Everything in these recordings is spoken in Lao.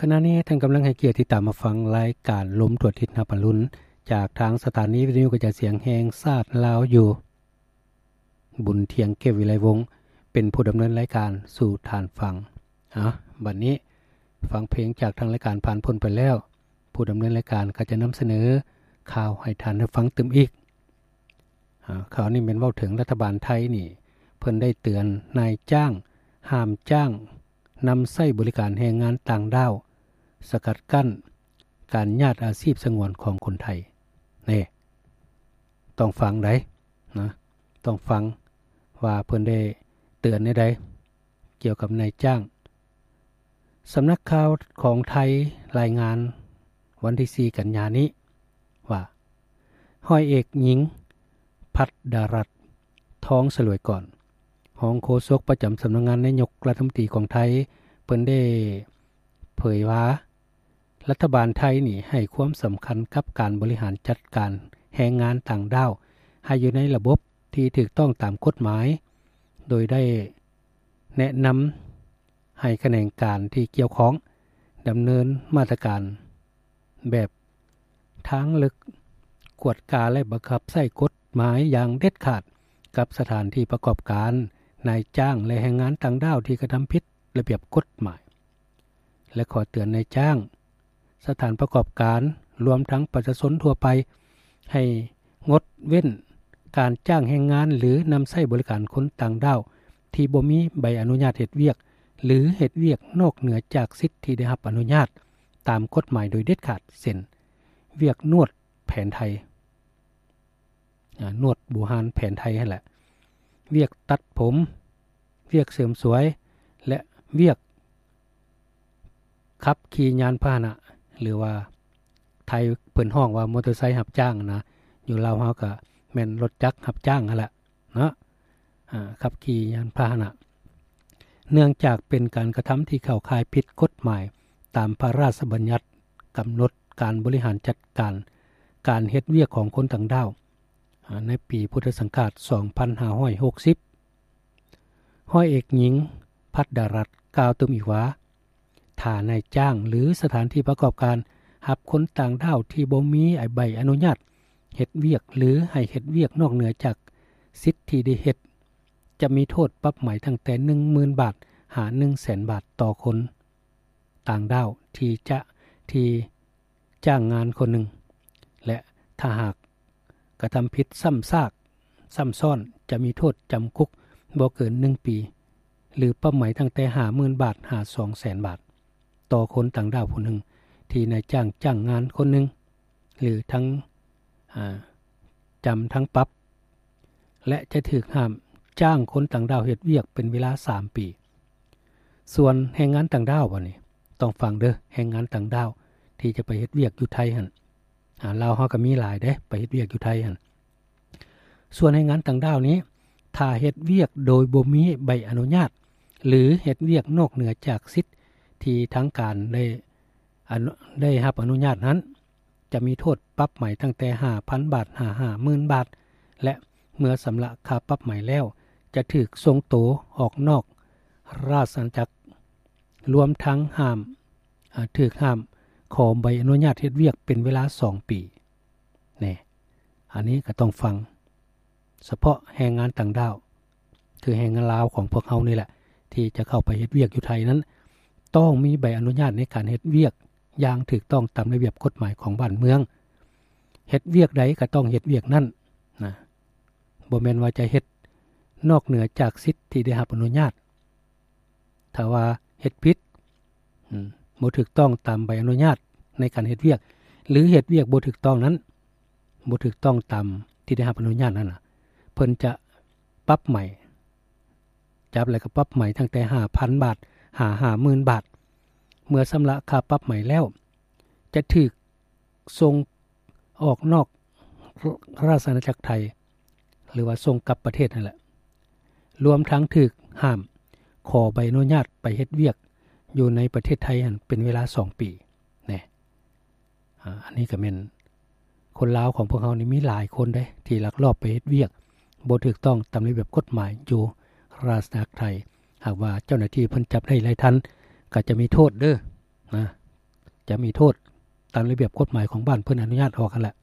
ຂະນະນີ້ທ່ານກຳລັງໃຫ້ກຽດຕິດຕາມມາຟັງລາຍການລົມທົ່ວທິດຮັບອາລຸນ ຈາກທາງສະຖານີວິທະຍຸກະຈາຍສຽງແຫ່ງຊາດລາວຢູ່. ບຸນທຽງ ເກດວິໄລວົງ ເປັນຜູ້ດຳເນີນລາຍການສູ່ທ່ານຟັງ. ເອົາ ບັດນີ້ຟັງເພງຈາກທາງລາຍການຜ່ານພົ້ນໄປແລ້ວ, ຜູ້ດຳເນີນລາຍການກໍຈະນຳສະເໜີຂ່າວໃຫ້ທ່ານໄດ້ຟັງຕື່ມອີກ. ອາ ຂ່າວນີ້ແມ່ນເວົ້າເຖິງລັດຖະບານໄທນີ້ ເພິ່ນໄດ້ເຕືອນນາຍຈ້າງຫ້າມຈ້າງນຳໃຊ້ບໍລິການແຮງງານຕ່າງດ້າວ, ສະກັດກັ້ນການຍາດອາຊີບສະຫງວນຂອງຄົນໄທ. ນີ້ ຕ້ອງຟັງໃດ໋ນະ, ຕ້ອງຟັງວ່າເພິ່ນໄດ້ເຕືອນແນວໃດ ກ່ຽວກັບນາຍຈ້າງ. ສຳນັກຂ່າວຂອງໄທລາຍງານວັນທີສີ່ ກັນຍານີ້ວ່າ ຮ້ອຍເອກຍິງ ພັດດາລັດ ທອງສະຫຼວຍກອນ ຮອງໂຄສົກປະຈຳສຳນັກງານນາຍົກລັດຖະມົນຕີຂອງໄທ ເພິ່ນໄດ້ເຜີຍວ່າ ລັດຖະບານໄທນີ້ໃຫ້ຄວາມສຳຄັນກັບການບໍລິຫານຈັດການແຮງງານຕ່າງດ້າວ ໃຫ້ຢູ່ໃນລະບົບທີ່ຖືກຕ້ອງຕາມກົດໝາຍ, ໂດຍໄດ້ແນະນຳໃຫ້ຂະແໜງການທີ່ກ່ຽວຂ້ອງດຳເນີນມາດຕະການແບບທາງເລິກ, ກວດກາ ແລະ ບັງຄັບໃຊ້ກົດໝາຍຢ່າງເດັດຂາດກັບສະຖານທີ່ປະກອບການ, ນາຍຈ້າງ ແລະ ແຮງງານຕ່າງດ້າວທີ່ກະທຳຜິດລະບຽບກົດໝາຍ. ແລະ ຂໍເຕືອນນາຍຈ້າງ, ສະຖານປະກອບການ, ລວມທັງປະຊາຊົນທົ່ວໄປ ໃຫ້ງົດເວັ້ນການຈ້າງແຮງງານ ຫຼື ນຳໃຊ້ບໍລິການຄົນຕ່າງດ້າວທີ່ບໍ່ມີໃບອະນຸຍາດເຮັດວຽກ ຫຼື ເຮັດວຽກນອກເໜືອຈາກສິດທີ່ໄດ້ຮັບອະນຸຍາດຕາມກົດໝາຍໂດຍເດັດຂາດ, ເຊັ່ນ ວຽກນວດແຜນໄທ, ອາ ນວດບູຮານແຜນໄທຫັ້ນແຫຼະ, ວຽກຕັດຜົມ, ວຽກເສີມສວຍ ແລະ ວຽກຂັບຂີ່ຍານພາຫະນະ ຫຼືວ່າໄທເພິ່ນຮ້ອງວ່າມໍເຕີໄຊຮັບຈ້າງນະ, ຢູ່ລາວເຮົາກະແມ່ນລົດຈັກຮັບຈ້າງຫັ້ນແຫຼະເນາະ, ອາ ຂັບຂີ່ຍານພາຫະນະ. ເນື່ອງຈາກເປັນການກະທຳທີ່ເຂົ້າຂ່າຍຜິດກົດໝາຍຕາມພະລາຊະບັນຍັດກຳນົດການບໍລິຫານຈັດການການເຮັດວຽກຂອງຄົນຕ່າງດ້າວ ອາ ໃນປີພຸດທະສັງກາດສອງພັນຫ້າຮ້ອຍຫົກສິບ. ຮ້ອຍເອກຍິງ ພັດດາລັດ ກ່າວຕື່ມອີກວ່າ ຖ້ານາຍຈ້າງ ຫຼື ສະຖານທີ່ປະກອບການຮັບຄົນຕ່າງດ້າວທີ່ບໍ່ມີໃບອະນຸຍາດເຮັດວຽກ ຫຼື ໃຫ້ເຮັດວຽກນອກເໜືອຈາກສິດທີ່ໄດ້ເຮັດ ຈະມີໂທດປັບໃໝຕັ້ງແຕ່ໜຶ່ງໝື່ນບາດ ຫາ ໜຶ່ງແສນບາດຕໍ່ຄົນຕ່າງດ້າວທີ່ຈະ ທີ່ ຈ້າງງານຄົນໜຶ່ງ ແລະ ຖ້າຫາກກະທຳຜິດຊ້ຳຊາກຊ້ຳຊ້ອນ ຈະມີໂທດຈຳຄຸກບໍ່ເກີນໜຶ່ງປີ ຫຼື ປັບໃໝຕັ້ງແຕ່ຫ້າໝື່ນບາດ ຫາ ສອງແສນບາດ ຕໍ່ຄົນຕ່າງດ້າວຜູ້ໜຶ່ງ ທີ່ນາຍຈ້າງຈ້າງງານຄົນໜຶ່ງ ຫຼື ທັງ ອາ ຈຳທັງປັບ ແລະ ຈະຖືກຫ້າມຈ້າງຄົນຕ່າງດ້າວເຮັດວຽກເປັນເວລາສາມປີ. ສ່ວນແຮງງານຕ່າງດ້າວ ບາດນີ້ຕ້ອງຟັງເດີ, ແຮງງານຕ່າງດ້າວທີ່ຈະໄປເຮັດວຽກຢູ່ໄທຫັ້ນ ອາ ລາວເຮົາກໍມີຫຼາຍເດ້ ໄປເຮັດວຽກຢູ່ໄທຫັ້ນ. ສ່ວນແຮງງານຕ່າງດ້າວນີ້ ຖ້າເຮັດວຽກໂດຍບໍ່ມີໃບອະນຸຍາດ ຫຼື ເຮັດວຽກນອກເໜືອຈາກສິດທີ່ທາງການໄດ້ ອະນຸ ໄດ້ຮັບອະນຸຍາດນັ້ນ ຈະມີໂທດປັບໃໝຕັ້ງແຕ່ຫ້າພັນບາດ ຫາ ຫ້າໝື່ນບາດ ແລະ ເມື່ອຊຳລະຄ່າປັບໃໝແລ້ວ ຈະຖືກສົ່ງໂຕອອກນອກລາຊະອານາຈັກ ລວມທັງຫ້າມ ອາ ຖືກຫ້າມຂໍໃບອະນຸຍາດເຮັດວຽກເປັນເວລາສອງປີ. ແນ່ ອັນນີ້ກໍຕ້ອງຟັງ ສະເພາະແຮງງານຕ່າງດ້າວ ຄືແຮງງານລາວຂອງພວກເຮົານີ້ແຫຼະ ທີ່ຈະເຂົ້າໄປເຮັດວຽກຢູ່ໄທນັ້ນ ຕ້ອງມີໃບອະນຸຍາດໃນການເຮັດວຽກຢ່າງຖືກຕ້ອງຕາມລະບຽບກົດໝາຍຂອງບ້ານເມືອງ. ເຮັດວຽກໃດກໍຕ້ອງເຮັດວຽກນັ້ນນະ, ບໍ່ແມ່ນວ່າຈະເຮັດນອກເໜືອຈາກສິດທີ່ໄດ້ຮັບອະນຸຍາດ. ຖ້າວ່າເຮັດຜິດ ອາ ບໍ່ຖືກຕ້ອງຕາມໃບອະນຸຍາດໃນການເຮັດວຽກ ຫຼື ເຮັດວຽກບໍ່ຖືກຕ້ອງນັ້ນ ບໍ່ຖືກຕ້ອງຕາມທີ່ໄດ້ຮັບອະນຸຍາດນັ້ນນະ ເພິ່ນຈະປັບໃໝ ຈັບແລ້ວກໍປັບໃໝຕັ້ງແຕ່ຫ້າພັນບາດ ຫາ ຫ້າໝື່ນບາດ. ເມື່ອຊຳລະຄ່າປັບໃໝແລ້ວ ຈະຖືກສົ່ງອອກນອກລາຊະອານາຈັກໄທ ຫຼືວ່າສົ່ງກັບປະເທດນັ້ນແຫຼະ, ລວມທັງຖືກຫ້າມຂໍໃບອະນຸຍາດໄປເຮັດວຽກຢູ່ໃນປະເທດໄທຫັ້ນເປັນເວລາສອງປີ. ແນ່ ອາ ອັນນີ້ກໍແມ່ນ ຄົນລາວຂອງພວກເຮົານີ້ມີຫຼາຍຄົນເດ້ ທີ່ລັກລອບໄປເຮັດວຽກບໍ່ຖືກຕ້ອງຕາມລະບຽບກົດໝາຍຢູ່ລາຊະອານາຈັກໄທ. ຫາກວ່າເຈົ້າໜ້າທີ່ເພິ່ນຈັບໄດ້ຫຼາຍທ່ານ ກໍຈະມີໂທດເດີ ນະ ຈະມີໂທດຕາມລະບຽບກົດໝາຍຂອງບ້ານເພິ່ນອະນຸຍາດອອກຫັ້ນແຫຼະ.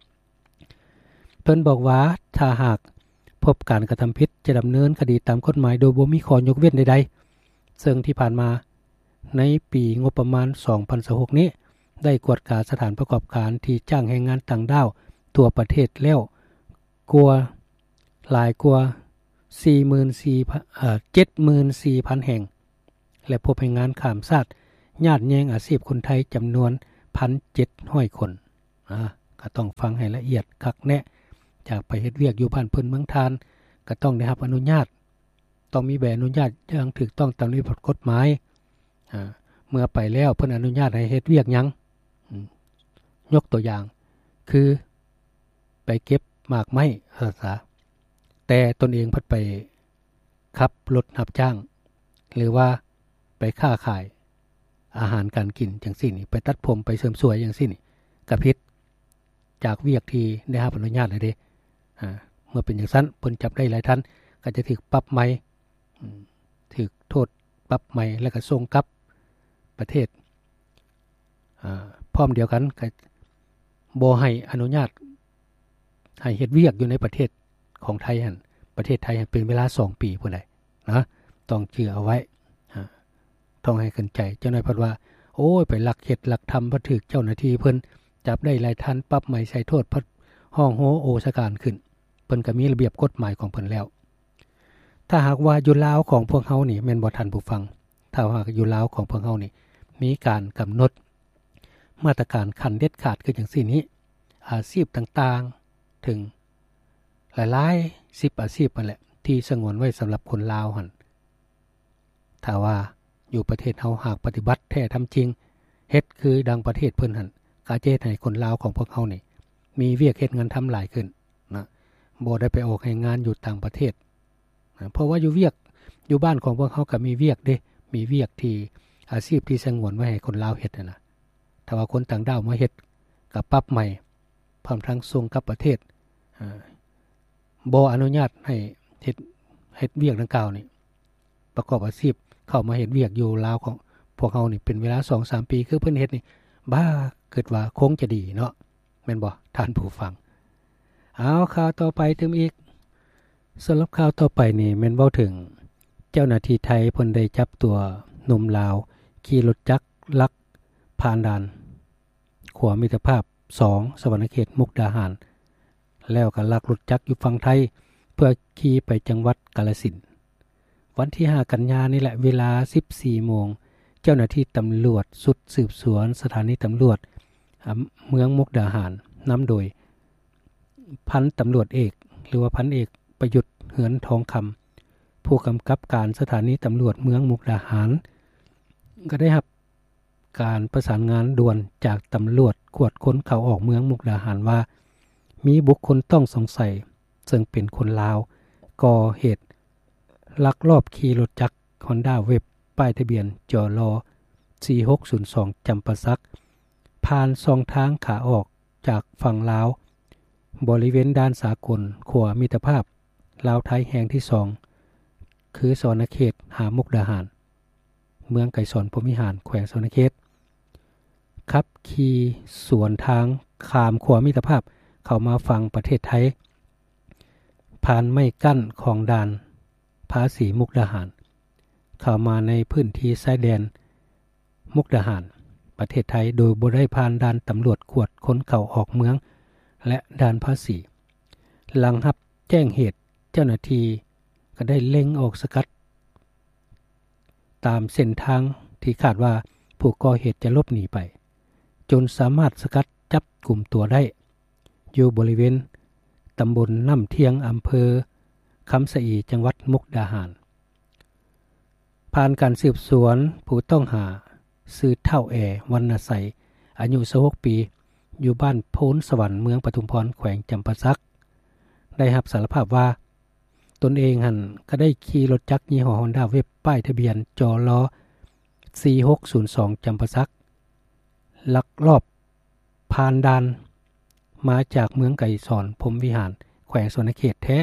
ເພິ່ນບອກວ່າ ຖ້າຫາກພົບການກະທຳຜິດ ຈະດຳເນີນຄະດີຕາມກົດໝາຍໂດຍບໍ່ມີຂໍ້ຍົກເວັ້ນໃດໆ ເຊິ່ງທີ່ຜ່ານມາໃນປີງົບປະມານສອງພັນຊາວຫົກນີ້ ໄດ້ກວດກາສະຖານປະກອບການທີ່ຈ້າງແຮງງານຕ່າງດ້າວທົ່ວປະເທດແລ້ວກວ່າ ຫຼາຍກວ່າສີ່ໝື່ນສີ່ພັນ ເອີ ເຈັດໝື່ນສີ່ພັນແຫ່ງ ແລະ ພົບແຮງງານຂ້າມຊາດຍາດແຍ່ງອາຊີບຄົນໄທຈຳນວນໜຶ່ງພັນເຈັດຮ້ອຍຄົນ. ອາ ກໍຕ້ອງຟັງໃຫ້ລະອຽດຄັກແນ່. ຈາກໄປເຮັດວຽກຢູ່ບ້ານເພິ່ນເມືອງທ່ານ ກໍຕ້ອງໄດ້ຮັບອະນຸຍາດ, ຕ້ອງມີໃບອະນຸຍາດຢ່າງຖືກຕ້ອງຕາມລະບຽບກົດໝາຍ. ອາ ເມື່ອໄປແລ້ວເພິ່ນອະນຸຍາດໃຫ້ເຮັດວຽກຫຍັງ? ອາ ຍົກຕົວຢ່າງຄື ໄປເກັບໝາກໄມ້ ວ່າຊັ້ນສາ, ແຕ່ຕົນເອງພັດໄປຂັບລົດຮັບຈ້າງ ຫຼືວ່າໄປຄ້າຂາຍອາຫານການກິນຈັ່ງຊີ້ນີ້, ໄປຕັດຜົມ ໄປເສີມສວຍຈັ່ງຊີ້ນີ້ ກໍຜິດຈາກວຽກທີ່ໄດ້ຮັບອະນຸຍາດແລ້ວເດ້. ອາ ເມື່ອເປັນຈັ່ງຊັ້ນ ເພິ່ນຈັບໄດ້ຫຼາຍທ່ານ ກໍຈະຖືກປັບໃໝ, ອາ ຖືກໂທດປັບໃໝ ແລ້ວກໍສົ່ງກັບປະເທດ. ອາ ພ້ອມດຽວກັນກໍບໍ່ໃຫ້ອະນຸຍາດໃຫ້ເຮັດວຽກຢູ່ໃນປະເທດຂອງໄທຫັ້ນ, ປະເທດໄທຫັ້ນເປັນເວລາສອງປີພຸ້ນໃດ໋ນະ, ຕ້ອງຈື່ເອົາໄວ້. ອາ ຕ້ອງໃຫ້ເຂົ້າໃຈ. ຈັກໜ້ອຍເພິ່ນວ່າ ໂອ້ຍ ໄປລັກເຮັດລັກທຳ ພັດຖືກເຈົ້າໜ້າທີ່ເພິ່ນຈັບໄດ້ຫຼາຍທ່ານ ປັບໃໝ ໃສ່ໂທດ ພັດຮ້ອງໂຮໂອສະການຂຶ້ນ. ເພິ່ນກໍມີລະບຽບກົດໝາຍຂອງເພິ່ນແລ້ວ. ຖ້າຫາກວ່າຢູ່ລາວຂອງພວກເຮົານີ້ ແມ່ນບໍ່ທ່ານຜູ້ຟັງ? ຖ້າຫາກຢູ່ລາວຂອງພວກເຮົານີ້ ມີການກຳນົດມາດຕະການຂັ້ນເດັດຂາດຄືຈັ່ງຊີ້ນີ້ ອາຊີບຕ່າງໆ ເຖິງຫຼາຍໆສິບອາຊີບຫັ້ນແຫຼະ ທີ່ສະຫງວນໄວ້ສຳລັບຄົນລາວຫັ້ນ, ຖ້າວ່າຢູ່ປະເທດເຮົາຫາກປະຕິບັດແທ້ທຳຈິງ ເຮັດຄືດັ່ງປະເທດເພິ່ນຫັ້ນ ກໍຈະເຮັດໃຫ້ຄົນລາວຂອງພວກເຮົານີ້ ມີວຽກເຮັດງານທຳຫຼາຍຂຶ້ນນະ, ບໍ່ໄດ້ໄປອອກແຮງງານຢູ່ຕ່າງປະເທດນະ. ເພາະວ່າຢູ່ວຽກ ຢູ່ບ້ານຂອງພວກເຮົາກໍມີວຽກເດ້, ມີວຽກທີ່ ອາຊີບທີ່ສະຫງວນໄວ້ໃຫ້ຄົນລາວເຮັດຫັ້ນນະ. ຖ້າວ່າຄົນຕ່າງດ້າວມາເຮັດ ກໍປັບໃໝ ພ້ອມທັງສົ່ງກັບປະເທດ, ອາ ບໍ່ອະນຸຍາດໃຫ້ເຮັດ, ເຮັດວຽກດັ່ງກ່າວນີ້ ປະກອບອາຊີບ ເຂົ້າມາເຮັດວຽກຢູ່ລາວຂອງພວກເຮົານີ້ ເປັນເວລາສອງສາມປີ ຄືເພິ່ນເຮັດນີ້ ບ້າ ຄິດວ່າຄົງຈະດີເນາະ, ແມ່ນບໍ່ທ່ານຜູ້ຟັງ? ເອົາ ຂ່າວຕໍ່ໄປຕື່ມອີກ. ສຳລັບຂ່າວຕໍ່ໄປນີ້ແມ່ນເວົ້າເຖິງເຈົ້າໜ້າທີ່ໄທເພິ່ນໄດ້ຈັບຕົວໜຸ່ມລາວຂີ່ລົດຈັກລັກຜ່ານດ່ານ ຂົວມິດຕະພາບສອງ ສະຫວັນນະເຂດ ມຸກດາຫານ ແລ້ວກໍລັກລົດຈັກຢູ່ຝັ່ງໄທ ເພື່ອຂີ່ໄປຈັງຫວັດກາລະສິນ. ວັນທີຫ້າ ກັນຍານີ້ແຫຼະ ເວລາສິບສີ່ໂມງ ເຈົ້າໜ້າທີ່ຕຳຫຼວດຊຸດສືບສວນສະຖານີຕຳຫຼວດ ອາ ເມືອງມຸກດາຫານ ນຳໂດຍພັນຕຳຫຼວດເອກ ຫຼືວ່າພັນເອກ ປະຍຸດ ເຮືອນທອງຄຳ ຜູ້ກຳກັບການສະຖານີຕຳຫຼວດເມືອງມຸກດາຫານ ກໍໄດ້ຮັບ ການປະສານງານດ່ວນຈາກຕຳຫຼວດກວດຄົນເຂົ້າອອກເມືອງມຸກດາຫານວ່າ ມີບຸກຄົນຕ້ອງສົງໄສເຊິ່ງເປັນຄົນລາວ ກໍ່ເຫດລັກລອບຂີ່ລົດຈັກ Honda Wave ປ້າຍທະບຽນ ຈລ ສີ່ຫົກສູນສອງ ຈຳປາສັກ ຜ່ານຊ່ອງທາງຂາອອກຈາກຝັ່ງລາວ ບໍລິເວນດ່ານສາກົນຂົວມິດຕະພາບລາວໄທແຫ່ງທີສອງ ຄືສະຫວັນນະເຂດຫາມຸກດາຫານ. ເມືອງໄກສອນພົມວິຫານ ແຂວງສະຫວັນນະເຂດ ຂັບຂີ່ສວນທາງຂ້າມຂົວມິດຕະພາບເຂົ້າມາຝັ່ງປະເທດໄທ ຜ່ານໄມ້ກັ້ນຂອງດ່ານພາສີມຸກດາຫານ ເຂົ້າມາໃນພື້ນທີ່ຊາຍແດນມຸກດາຫານ ປະເທດໄທ ໂດຍບໍ່ໄດ້ຜ່ານດ່ານຕຳຫຼວດກວດຄົນເຂົ້າອອກເມືອງ ແລະ ດ່ານພາສີ. ຫຼັງຮັບແຈ້ງເຫດ ເຈົ້າໜ້າທີ່ກໍໄດ້ເລັ່ງອອກສະກັດ ຕາມເສັ້ນທາງທີ່ຄາດວ່າຜູ້ກໍ່ເຫດຈະຫຼົບໜີໄປ ຈົນສາມາດສະກັດຈັບກຸມຕົວໄດ້ ຢູ່ບໍລິເວນຕຳບົນນ້ຳທຽງ ອຳເພີຄຳສະອີ ຈັງຫວັດມຸກດາຫານ. ຜ່ານການສືບສວນ ຜູ້ຕ້ອງຫາຊື່ທ້າວ ແອ ວັນນະໄຊ ອາຍຸຊາວຫົກປີ ຢູ່ບ້ານໂພນສະຫວັນ ເມືອງປະທຸມພອນ ແຂວງຈຳປາສັກ ໄດ້ຮັບສາລະພາບວ່າ ຕົນເອງຫັ້ນກໍໄດ້ຂີ່ລົດຈັກຍີ່ຫໍ້ Honda Wave ປ້າຍທະບຽນ ຈລ ສີ່ຫົກສູນສອງ ຈຳປາສັກ ລັກລອບຜ່ານດ່ານມາຈາກເມືອງໄກສອນພົມວິຫານ ແຂວງສະຫວັນນະເຂດແທ້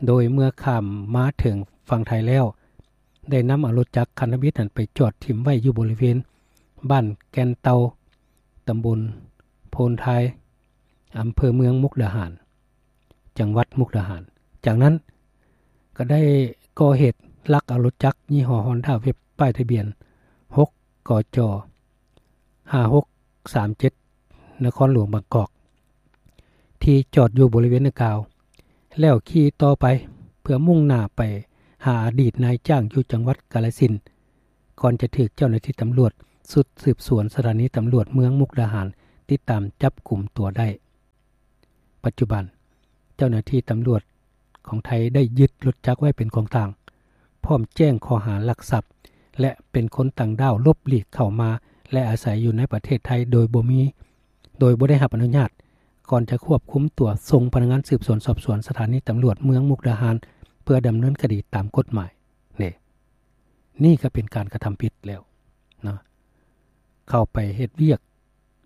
ໂດຍເມື່ອຂ້າມມາເຖິງຝັ່ງໄທແລ້ວ ໄດ້ນຳເອົາລົດຈັກຄັນທຳອິດນັ້ນໄປຈອດຖິ້ມໄວ້ຢູ່ບໍລິເວນບ້ານແກ່ນເຕົ່າ ຕຳບົນໂພນທາຍ ອຳເພີເມືອງມຸກດາຫານ ຈັງຫວັດມຸກດາຫານ. ຈາກນັ້ນກໍໄດ້ກໍ່ເຫດລັກເອົາລົດຈັກຍີ່ຫໍ້ຮອນດ້າເວບ ປ້າຍທະບຽນ ຫົກ ກຈ ຫ້າຫົກສາມເຈັດ ນະຄອນຫຼວງບາງກອກ ທີ່ຈອດຢູ່ບໍລິເວນດັ່ງກ່າວ ແລ້ວຂີ່ຕໍ່ໄປເພື່ອມຸ່ງໜ້າໄປຫາອະດີດນາຍຈ້າງຢູ່ຈັງຫວັດກາລະສິນ ກ່ອນຈະຖືກເຈົ້າໜ້າທີ່ຕຳຫຼວດຊຸດສືບສວນສະຖານີຕຳຫຼວດເມືອງມຸກດາຫານຕິດຕາມຈັບກຸມຕົວໄດ້. ປັດຈຸບັນເຈົ້າໜ້າທີ່ຕຳຫຼວດຂອງໄທໄດ້ຍຶດລົດຈັກໄວ້ເປັນຂອງກາງ ພ້ອມແຈ້ງຂໍ້ຫາລັກຊັບ ແລະ ເປັນຄົນຕ່າງດ້າວຫຼົບຫຼີກເຂົ້າມາ ແລະ ອາໄສຢູ່ໃນປະເທດໄທໂດຍບໍ່ມີ ໂດຍບໍ່ໄດ້ຮັບອະນຸຍາດ ກ່ອນຈະຄວບຄຸມຕົວສົ່ງພະນັກງານສືບສວນສອບສວນສະຖານີຕຳຫຼວດເມືອງມຸກດາຫານ ເພື່ອດຳເນີນຄະດີຕາມກົດໝາຍ. ນີ້ ນີ້ກໍເປັນການກະທຳຜິດແລ້ວເນາະ ເຂົ້າໄປເຮັດວຽກ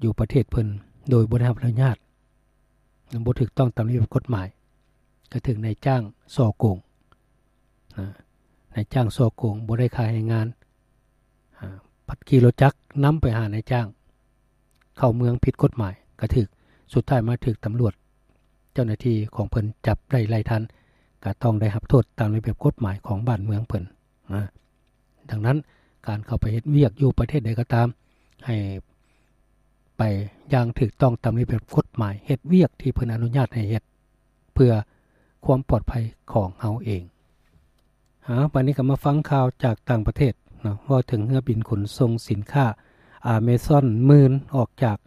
ຢູ່ປະເທດເພິ່ນໂດຍບໍ່ໄດ້ຮັບອະນຸຍາດ ບໍ່ຖືກຕ້ອງຕາມລະບຽບກົດໝາຍ ກໍຖືກນາຍຈ້າງສໍ້ໂກງ ນາຍຈ້າງສໍ້ໂກງ ບໍ່ໄດ້ຄ່າແຮງງານ ອາ ພັດຂີ່ລົດຈັກນຳໄປຫານາຍຈ້າງ ເຂົ້າເມືອງຜິດກົດໝາຍ ກໍຖືກ ສຸດທ້າຍມາຖືກຕຳຫຼວດ ເຈົ້າໜ້າທີ່ຂອງເພິ່ນຈັບໄດ້ໄລ່ທັນ ກໍຕ້ອງໄດ້ຮັບໂທດຕາມລະບຽບກົດໝາຍຂອງບ້ານເມືອງເພິ່ນນະ. ດັ່ງນັ້ນ ການເຂົ້າໄປເຮັດວຽກຢູ່ປະເທດໃດກໍຕາມ ໃຫ້ໄປຢ່າງຖືກຕ້ອງຕາມລະບຽບກົດໝາຍ ເຮັດວຽກທີ່ເພິ່ນອະນຸຍາດໃຫ້ເຮັດ ເພື່ອຄວາມປອດໄພຂອງເຮົາເອງ. ເອົາ ບັດນີ້ກໍມາຟັງຂ່າວຈາກຕ່າງປະເທດເນາະ ເວົ້າເຖິງເຮືອບິນຂົນສົ່ງສິນຄ້າ Amazon ມື່ນອອກຈາກ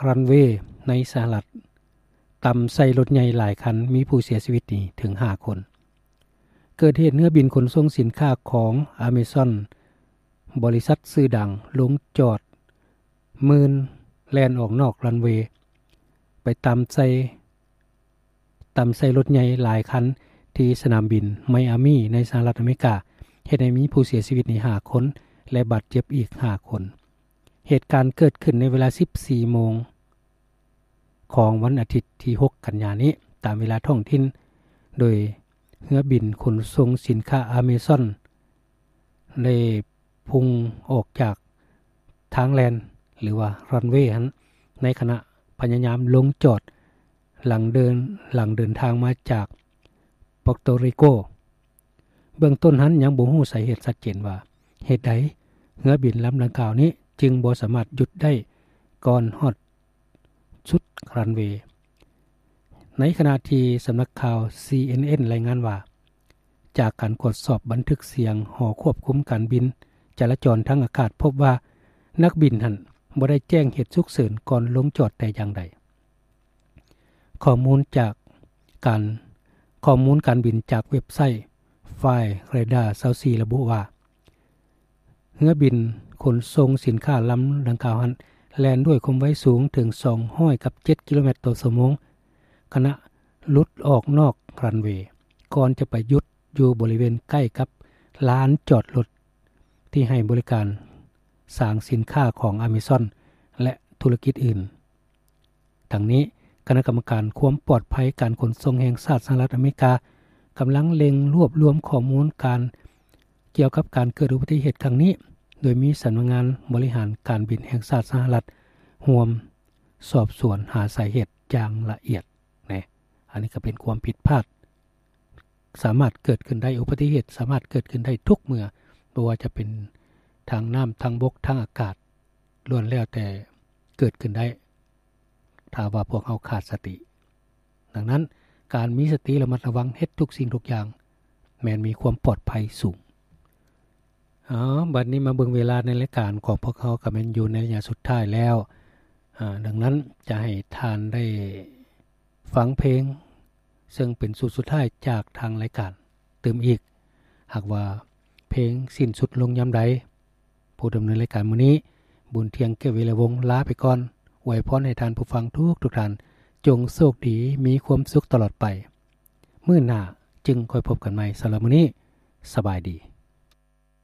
ຣັນເວໃນສະຫະລັດ ຕຳໃສ່ລົດໃຫຍ່ຫຼາຍຄັນ ມີຜູ້ເສຍຊີວິດນີ້ເຖິງຫ້າຄົນ. ເກີດເຫດເຮືອບິນຂົນສົ່ງສິນຄ້າຂອງ Amazon ບໍລິສັດຊື່ດັງ ລົງຈອດມື່ນແລ່ນອອກນອກຣັນເວ ໄປຕຳໃສ່ ຕຳໃສ່ລົດໃຫຍ່ຫຼາຍຄັນທີ່ສະໜາມບິນໄມອາມີໃນສະຫະລັດອາເມລິກາ ເຮັດໃຫ້ມີຜູ້ເສຍຊີວິດນີ້ຫ້າຄົນ ແລະ ບາດເຈັບອີກຫ້າຄົນ. ເຫດການເກີດຂຶ້ນໃນເວລາສິບສີ່ໂມງຂອງວັນອາທິດທີຫົກກັນຍານີ້ ຕາມເວລາທ້ອງຖິ່ນ ໂດຍເຮືອບິນຂົນສົ່ງສິນຄ້າ Amazon ໄດ້ ພຸ່ງອອກຈາກທາງແລ່ນ ຫຼືວ່າຣັນເວຫັ້ນ ໃນຂະນະພະຍາຍາມລົງຈອດ ຫຼັງເດີນ ຫຼັງເດີນທາງມາຈາກປອກໂຕຣີໂກ. ເບື້ອງຕົ້ນຫັ້ນຍັງບໍ່ຮູ້ສາເຫດຊັດເຈນວ່າ ເຫດໃດເຮືອບິນລຳດັ່ງກ່າວນີ້ຈຶ່ງບໍ່ສາມາດຢຸດໄດ້ກ່ອນຮອດ ສຸດຣັນເວ. ໃນຂະນະທີ່ສຳນັກຂ່າວ ຊີເອັນເອັນ ລາຍງານວ່າ ຈາກການກວດສອບບັນທຶກສຽງຫໍຄວບຄຸມການບິນຈະລາຈອນທາງອາກາດ ພົບວ່ານັກບິນຫັ້ນບໍ່ໄດ້ແຈ້ງເຫດສຸກເສີນກ່ອນລົງຈອດແຕ່ຢ່າງໃດ. ຂໍ້ມູນຈາກການ ຂໍ້ມູນການບິນຈາກເວັບໄຊ Flightradar ຊາວສີ່ ລະບຸວ່າ ເຮືອບິນຂົນສົ່ງສິນຄ້າລຳດັ່ງກ່າວຫັ້ນ ແລ່ນດ້ວຍຄວາມໄວສູງເຖິງສອງຮ້ອຍກັບເຈັດກິໂລແມັດຕໍ່ຊົ່ວໂມງ ຂະນະຫຼຸດອອກນອກຣັນເວ ກ່ອນຈະໄປຢຸດຢູ່ບໍລິເວນໃກ້ກັບລານຈອດລົດທີ່ໃຫ້ບໍລິການສາງສິນຄ້າຂອງ Amazon ແລະ ທຸລະກິດອື່ນ. ທັງນີ້, ຄະນະກຳມະການຄວາມປອດໄພການຂົນສົ່ງແຫ່ງຊາດສະຫະລັດອາເມລິກາ ກຳລັງເລັ່ງລວບລວມຂໍ້ມູນການກ່ຽວກັບການເກີດອຸບັດຕິເຫດຄັ້ງນີ້, ໂດຍມີສຳນັກງານບໍລິຫານການບິນແຫ່ງຊາດສະຫະລັດຮ່ວມສອບສວນຫາສາເຫດຢ່າງລະອຽດ. ແນ່, ອັນນີ້ກໍເປັນຄວາມຜິດພາດ ສາມາດເກີດຂຶ້ນໄດ້, ອຸບັດຕິເຫດສາມາດເກີດຂຶ້ນໄດ້ທຸກເມື່ອ, ບໍ່ວ່າຈະເປັນທາງນ້ຳ, ທາງບົກ, ທາງອາກາດ, ລ້ວນແລ້ວແຕ່ເກີດຂຶ້ນໄດ້ ຖ້າວ່າພວກເຮົາຂາດສະຕິ. ດັ່ງນັ້ນ, ການມີສະຕິລະມັດລະວັງເຮັດທຸກສິ່ງທຸກຢ່າງ ແມ່ນມີຄວາມປອດໄພສູງ. ເອົາ, ບັດນີ້ມາເບິ່ງເວລາໃນລາຍການຂອງພວກເຮົາ ກໍແມ່ນຢູ່ໃນໄລຍະສຸດທ້າຍແລ້ວ. ອາ, ດັ່ງນັ້ນ, ຈະໃຫ້ທ່ານໄດ້ ຟັງເພງເຊິ່ງເປັນຊຸດສຸດທ້າຍຈາກທາງລາຍການຕື່ມອີກ. ຫາກວ່າເພງສິ້ນສຸດລົງຍາມໃດ, ຜູ້ດຳເນີນລາຍການມື້ນີ້ ບຸນທຽງ ເກດວິລະວົງ ລາໄປກ່ອນ. ອວຍພອນໃຫ້ທ່ານຜູ້ຟັງທຸກໆທ່ານ ຈົ່ງໂຊກດີ, ມີຄວາມສຸກຕະຫຼອດໄປ. ມື້ໜ້າຈຶ່ງຄ່ອຍພົບກັນໃໝ່. ສຳລັບມື້ນີ້, ສະບາຍດີ.